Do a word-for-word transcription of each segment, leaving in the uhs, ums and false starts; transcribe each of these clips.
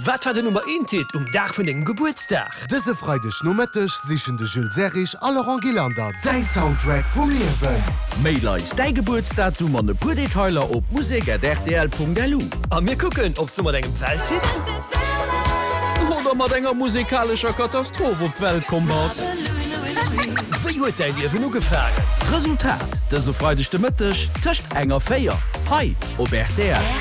Wat war den Nummer eent Hit um Dag vun dengem Gebuertsdag? Dëse Freideg Nomëtteg sichen de Jules Serrig a Laurent Gillander däi Soundtrack vum Liewen. Mail eis däi Gebuertsdatum an e puer Detailer op musek at rtl punkt lu. A mir kucken, ob s du mat engem Welthit oder mat enger musekalescher Katastroph op d'Welt komm bass. Wéi huet däi Liewen ugefaangen? D'Resultat dëse Freideg de Mëtteg tëscht eng a véier hei op rtl.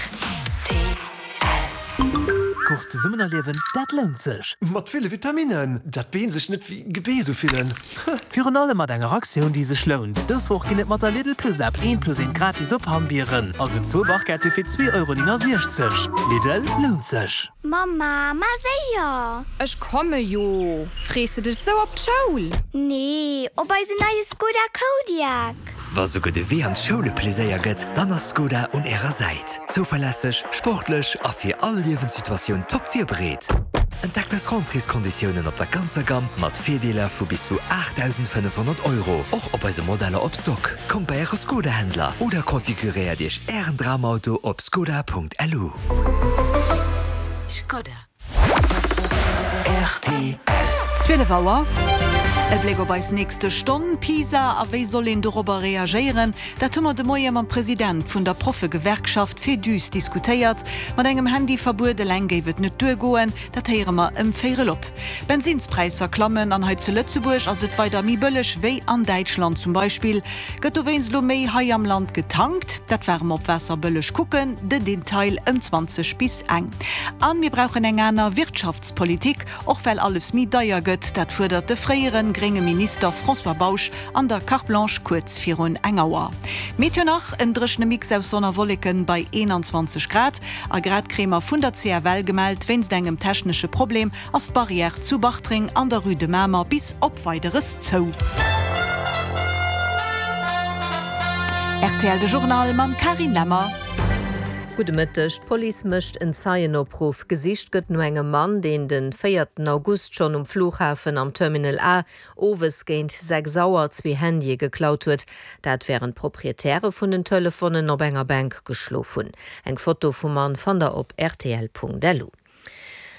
Course zesummen erliewen, dat lount sech! Mat ville Vitaminnen, dat d'Been sech net wéi Gebeess ufillen. Virun allem mat enger Aktioun, déi sech lount. Dës Woch ginn et mat der Lidl Plus App eent plus eent gratis op Hammbieren, also zwou Barquette fir zwee Euro néngasiechzeg. Lidl, lount sech! Mamma, ma séier! Ech komme jo! Frees de dech sou op d'Schoul? Nee, op eisen neie Skoda Kodiaq! Wa souguer de Wee an d'Schoul e Pleséier gëtt, dann ass Skoda un ärer Säit. Zouverlässeg, sportlech a fir all Liewenssituatioun top virbereet. Entdeckt eis Rentréeskonditiounen op der ganzer Gamm mat Virdeeler vu bis zu aachtdausendfënnefhonnert Euro, och op eise Modeller op Stock. Kommt bei äre Skoda-Händler oder konfiguréiert iech ären Dramauto op skoda.lu. Skoda. Rtl. Zwielef Auer. E Bléck op eis nächste Stonn, Pisa a wéi soll een dorobber reagéieren? Dat hu mer de Moie mam President vun der Proffegewerkschaft Féduse diskutéiert. Mat engem Handyverbuet eleng géif et net duergoen, dat héiere mer ëm véierel op. D'Bensinnspräisser klammen an hei zu Lëtzebuerg ass et weider méi bëlleg wéi an Däitschland zum Beispill. Gëtt dowéinst elo méi hei am Land getankt? Dat ware mer op Waasserbëlleg kucken, den Detail ëm zwanzeg bis eng. An mir brauchen eng aner Wirtschaftspolitik, och well alles méi deier gëtt. Dat fuerdert de fréiere grénge Minister François Bausch an der Carte Blanche kuerz virun eng Auer. Meteo nach, en dréchene Mix aus Sonn a Wolleken bei eenanzwanzeg Grad. A grad kréie mer vun der C F L gemellt, wéinst engem technesche Problem ass d'Barrière zu Bartreng an der Rue de Mamer bis op Weideres zou. Rtl De Journal mam Carine Lemmer. Gudde Mëtteg. D'Police mécht en Zeienopruff. Gesicht gëtt no engem Mann, deen de véierten August schonn um Flughafen am Terminal A owes géint sechs Auer zwee Handye geklaut huet. Dat wärend d'Proprietäre vun den Telefonen op enger Bänk geschlof hunn. Eng Foto vum Mann fannt der op rtl Punkt lu.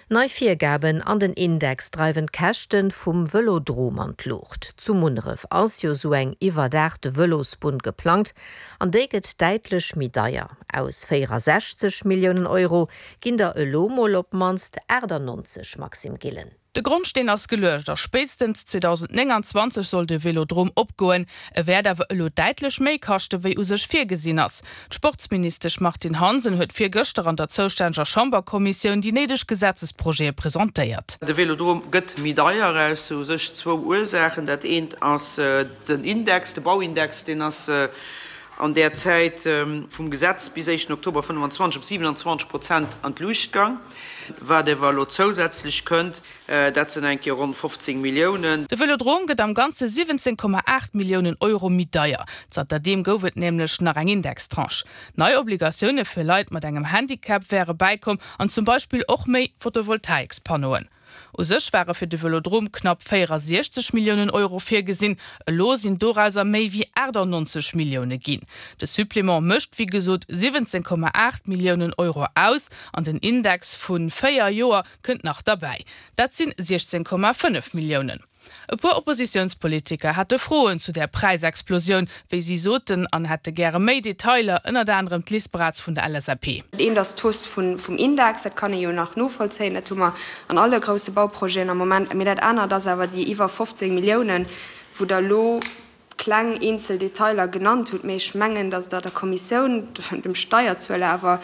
Nei Virgaben an den Index dreiwen d'Käschte vum Vëlodrom an d'Luucht. Zu Munneref ass jo sou eng iwwerdaachte Vëlosbunn geplangt an déi gëtt däitlech méi deier. Aus véierasechzeg Milliounen Euro ginn der elo mol op d'mannst aachtanonzeg, Maxime Gillen. De Grondsteen ass geluecht a spéitstens zweedausendnénganzwanzeg soll de Vélodrom opgoen. E wäert awer elo däitlech méi kaschte wéi u sech virgesinn ass. D'Sportsministesch Martine Hansen huet virgëschter an der zoustänneger Chamberkommissioun déi néideg Gesetzesprojete presentéiert. De Vélodrom gëtt méi deier aus u sech zwou Ursaachen. Dat eent ass den Index, de Bauindex, deen ass an där Zäit vum Gesetz bis éischten Oktober fënnfanzwanzeg op siwenanzwanzeg Prozent an d'Luucht gang. Wat ewer elo zousätzlech kënnt, dat sinn eng Kéier ronn fofzéng Milliounen. De Vëlodrom gëtt am Ganze siwwenzéng Komma aacht Milliounen Euro méi deier. Zanterdeem gouf et nämlech nach eng Indextranche. Nei Obligatioune fir Leit mat engem Handicap wäre bäikomm an zum Beispill och méi Photovoltaikspannoen. U sech ware fir de Vëlodrom knapp véierasiechzeg Milliounen Euro virgesinn, elo sinn dorauser méi wéi aachtannonzeg Millioune ginn. De Supplément mécht wéi gesot siwwenzéng Komma aacht Milliounen Euro aus an den Index vu véier Joer kënnt nach derbäi. Dat sinn siechzéng Komma fënnef Milliounen. E puer Oppositiounspolitiker hate Froen zu där Präisexplosioun, wéi si soten, an hätte gäre méi Detailer, ënnert anerem d'Liz Braz vun der L S A P. Dat eent ass d'Hausse vum Index, dat kann ee jo nach novollzéien, dat hu mer an alle grousse Bauprojeten am Moment. Mee dat anert ass awer déi iwwer fofzéng Milliounen, wou Der elo kleng eenzel Detailer genannt hutt. Mee ech mengen, datt Der der Kommissioun, dem Steierzueler awer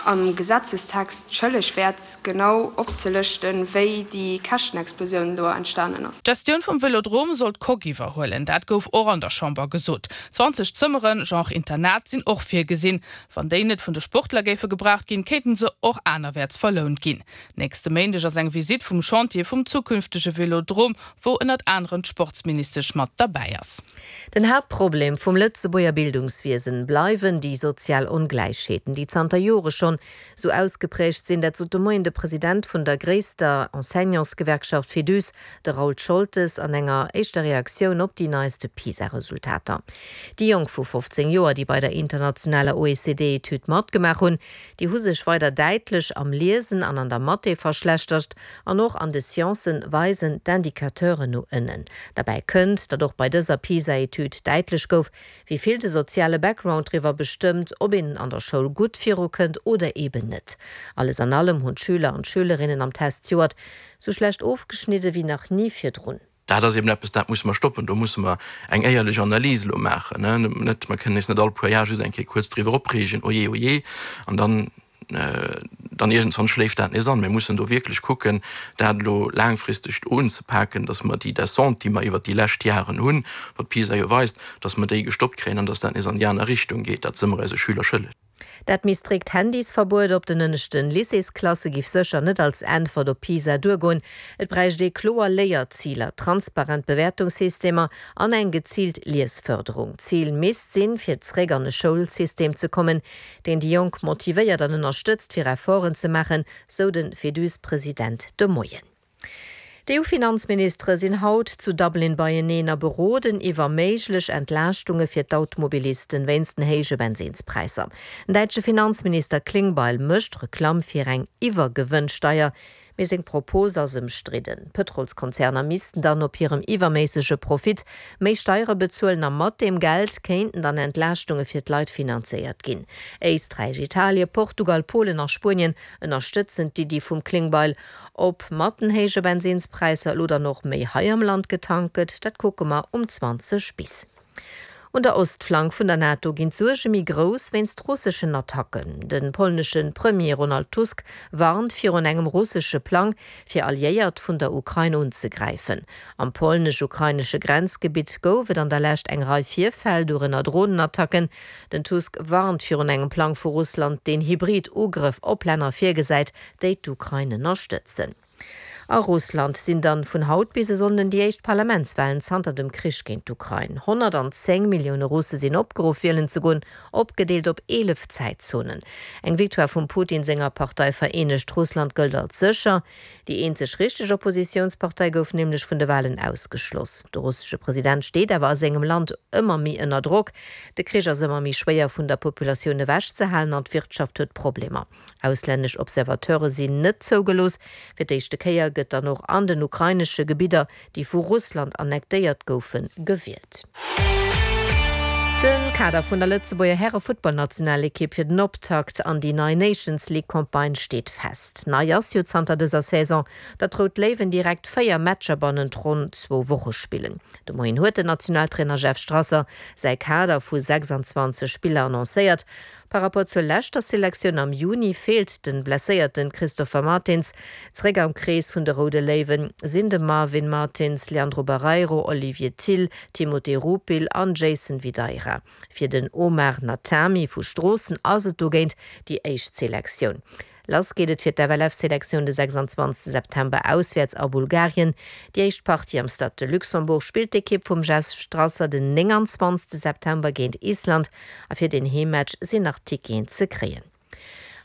am Gesetzestext schëlleg wäert, genau opzelëschten, wéi déi Käschtenexplosioun do entstanen ass. D'Gestioun vum Vëlodrom soll d'Coque iwwerhuelen. Dat gouf och an der Chamber gesot. Zwanzeg Zëmmeren, Genre Internat, sinn och virgesinn. Wann déi net vun de Sportler géife gebraucht ginn, kéinten se och anerwäerts verlount ginn. Nächste Méindeg ass eng Visitt vum Chantier vum zukünftege Vëlodrom, wou ënnert anerem d'Sportsministesch mat derbäi ass. Den Haaptproblem vum Lëtzebuerger Bildungswiesen bleiwen déi sozial Ongläichheeten, déi zanter Jore schonn schonn sou ausgepräägt sinn. Dat sot de Moien de President vun der gréisster Enseignantsgewerkschaft Féduse, de Raoul Scholtes, an enger éischter Reaktioun op déi neiste PISA-Resultater. Déi Jonk vu fofzéng Joer, déi bei der internationaler O E C D-Etüd matgemaach hunn, déi hu sech weider däitlech am Liesen an an der Mathé verschlechtert an och an de Sciencen weisen d'Indicateuren no ënnen. Derbäi kënnt, datt och bei dëser PISA-Etüd däitlech gouf, wéi vill de soziale Background driwwer bestëmmt, ob een an der Schoul gutt virukënnt oder eben net. Alles an allem hunn d'Schüler an d'Schülerinnen am Test zejoert sou schlecht ofgeschnidde wéi nach ni virdrun. Dat ass eben eppes, dat musse mer stoppen. Do musse mer eng éierlech Analys elo maachen. Net, mer kënnen eis net all puer Jar just eng Kéier kuerz driwwer opreegen, Oje, oje, an dann, dann iergendwann schléift dat nees an. Mir mussen do wierklech kucken, dat elo laangfristeg unzepaken, dass mer déi Descente, déi mer iwwert déi lescht Jaren hunn, wat PISA jo weist, dass mer déi gestoppt kréien an dass dat nees an déi aner Richtung geet. Dat si mer eise Schüler schëlleg. Dat méi strikt Handysverbuet op den ënneschten Lycéesklasse giff sécher net als Äntwert op PISA duergoen. Et bräicht ee kloer Léierziler, transparent Bewäertungssystemer an eng geziilt Liesfërderung. D'Zil misst sinn, fir zeréck an e Schoulsystem ze kommen, deen déi Jonk motivéiert an ënnerstëtzt, fir Efforten ze maachen, sou de Féduse-President de Moien. D'EU-Finanzministere sinn haut zu Dublin beieneen a beroden iwwer méiglech Entlaaschtunge fir d'Automobilisten wéinst den héije Bensinnspräisser. Den däitsche Finanzminister Klingbeil mécht Reklamm fir eng Iwwergewënnsteier, mee seng Propos ass ëmstridden. D'Pëtrolskonzerner missten dann op hirem iwwerméissege Profit méi Steiere bezuelen a mat deem Geld kéinten dann Entlaaschtunge fir d'Leit finanzéiert ginn. Éisträich, Italien, Portugal, Polen a Spuenien ënnerstëtzen d'Iddi vum Klingbeil. Ob mat den héije Bensinnspräisser elo dann och méi hei am Land getankt gëtt, dat kucke mer um zwanzeg bis. Un der Ostflank vun der NATO ginn d'Suerge méi grouss wéinst russeschen Attacken. De polnesche Premier Ronald Tusk warnt virun engem russesche Plang, fir Alliéiert vun der Ukrain unzegräifen. Am polnesch-ukrainesche Grenzgebitt gouf et an der Lescht eng Rei Virfäll, dorënner Dronenattacken. Den Tusk warnt virun engem Plang vu Russland, deen hybrid Ugrëff op Länner virgesäit, déi d'Ukrain ënnerstëtzen. A Russland sinn dann vun haut bis e Sonnden déi éischt Parlamentswalen zanter dem Krich géint d'Ukrain. honnertzéng Millioune Russe sinn opgeruff wielen ze goen, opgedeelt op eelef Zäitzonen. Eng Victoire vum Putin senger Partei Vereenegt Russland gëllt als sécher. Déi eenzeg richteg Oppositiounspartei gouf nämlech vun de Walen ausgeschloss. De russesche President steet awer a sengem Land ëmmer méi ënner Drock. De Krich ass ëmmer méi schwéier vun der Populatioun ewechzehalen an d'Wirtschaft huet Problemer. Auslännesch Observateure sinn net zougelooss. Fir d'éischte Kéier gëtt dann och an den ukrainesche Gebidder, déi vu Russland annektéiert goufen, gewielt. De Kader vun der Lëtzebuerger Häre-Futtballnationalekipp fir den Optakt an déi nei Nations League-Campagne steet fest. Nei ass jo zanter dëser Saison, datt d'Rout Léiwen direkt véier Matcher bannent ronn zwou Woche spillen. De Moien huet den Nationaltrainer Jeff Strasser säi Kader vu sechsanzwanzeg Spiller annoncéiert. Par rapport zur leschter Selektioun am Juni feelt de blesséierte Christopher Martins. Zeréck am Krees vun de Roude Léiwen sinn de Marvin Martins, Leandro Barreiro, Olivier Thill, Timothé Rupil an Jason Videira. Fir den Omar Natami vu Stroossen ass et dogéint déi éischt Selektioun. Lass geet et fir d'F L F-Selektioun de sechsanzwanzegste September auswäerts a Bulgarien. Déi éischt Partie am Stade de Luxembourg spillt d'Ekipp vum Jeff Strasser den nénganzwanzegste September géint Island a fir den Heemmatch sinn nach Ticketen ze kréien.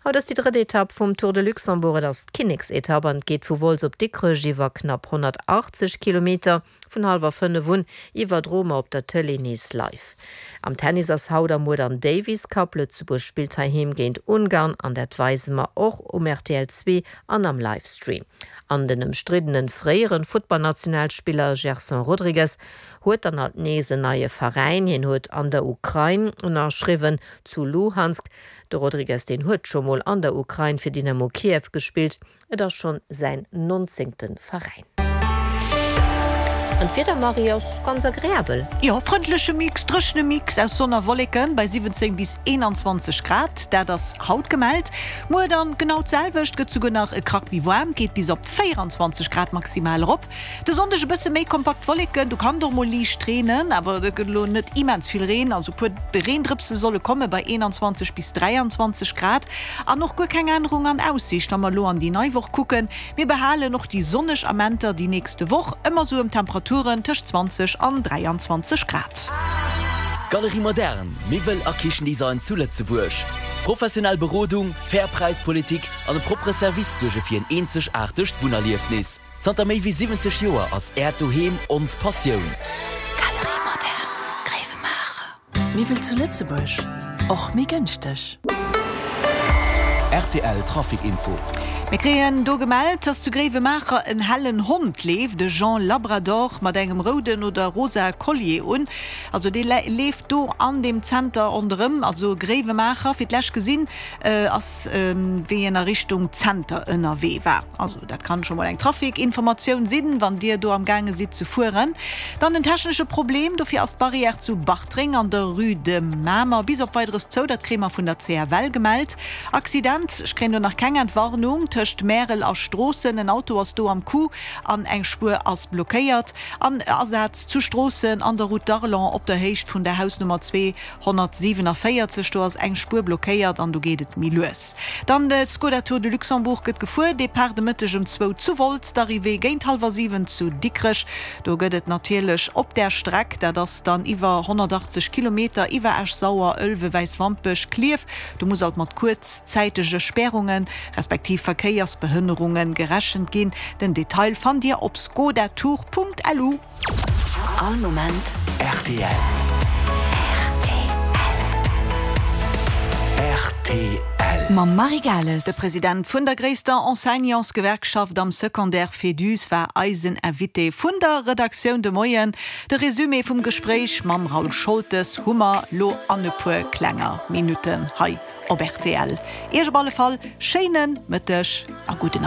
Haut ass déi drëtt Etapp vum Tour de Luxembourg. Et ass d'Kinneksetapp an geet vu Wolz op Dikrech iwwer knapp honnertachtzeg Kilometer. Vun hallwer fënnef un iwwerdroe mer op der Tëlee nees live. Am Tennis ass haut a muer den Davis Cup. Lëtzebuerg spillt heiheem géint Ungarn an dat weise mer och um R T L zwee an am Livestream. An den ëmstriddene fréiere Futtballnationalspiller Gerson Rodrigues huet dann alt nees en neie Veräin. Hien huet an der Ukrain ënnerschriwwen, zu Luhansk. De Rodrigues deen huet scho mol an der Ukrain fir Dynamo Kiew gespillt. Et ass schonn säin nonzéngte Veräin. An d'Wieder, Marie, ass ganz agreabel. Jo, frëndleche Mix, dréchene Mix aus Sonn a Wolleken bei siwwenzéng bis eenanzwanzeg Grad, dat ass haut gemellt. Muer dann genau d'selwecht, gëtt souguer nach e Krack méi waarm, geet bis op véieranzwanzeg Grad maximal erop. De Sonndeg e bësse méi kompakt Wolleken, do kann et och mol liicht reenen, awer et gëtt elo net immens vill Reen, also puer Reendrëpse solle komme bei eenanzwanzeg bis dräianzwanzeg Grad. An och guer keng Ännerung an Aussiicht, wa mer elo an déi nei Woch kucken. Mir behalen och déi sonneg Amenter déi nächste Woch, ëmmer sou ëm Temperaturen tëscht zwanzeg an dräianzwanzeg Grad. Galerie Moderne, Miwwel a Kichendesign zu Lëtzebuerg. Professionell Berodung, fair Präispolitik an e proppere Service suerge fir en eenzegaartegt Wunnerliefnis. Zanter méi wéi siwwenzeg Joer ass Äert Doheem ons Passioun. Galerie Moderne, Gréiwemaacher. Miwwel zu Lëtzebuerg, och méi gënschteg. Rtl Trafic Info. Mir kréien do gemellt, dass zu Gréiwemaacher en hellen Hond leeft, e Genre Labrador mat engem rouden oder rosa Collier un. Also dee leeft do an deem Zenter ronderëm, also Gréiwemaacher. Fir d'lescht gesinn ass wéi en a Richtung Zenter ënnerwee war. Also dat kann scho mol eng Trafic-Informatioun sinn, wann Dir do am gaange sidd ze fueren. Dann en technesche Problem, dofir ass d'Barrière zu Bartreng an der Rue de Mamer bis op Weideres zou, dat kréie mer vun der C F L gemellt. Accident, ech kréien do nach keng Entwarnung, tëscht Märel a Stroossen, en Auto ass do am Coup an eng Spuer ass blockéiert. An Asaz zu Stroossen an der Route d'Arlon op der Héicht vun der Hausnummer zweehonnertsiewenundvéierzeg, do ass eng Spuer blockéiert an do geet et méi lues. Dann de Skoda Tour de Luxembourg gëtt gefuer, Depart de Mëtteg um zwou zu Wolz, d'Arrivée géint hallwer siwen zu Dikrech. Do gëtt et natierlech op där Streck, dat ass dann iwwer honnertachtzeg Kilometer, iwwer Esch-Sauer, Ëlwen, Wäiswampech, Klierf, do muss alt mat kuerzzäitege Spärungen, respektiv Verkéiersbehënnerunge gerechent ginn. Den Detail fannt Dir op skodatour.lu. All Moment rtl. Rtl. Mam Marie Gales. De President vun der gréisster Enseignantsgewerkschaft am Secondaire Féduse war eisen Invité vun der Redaktioun de Moien. De Resumé vum Gespréich mam Raoul Scholtes hu mer lo an e puer klenger Minutten hei op rtl. Iech op alle Fall schéine Mëtteg a gudden.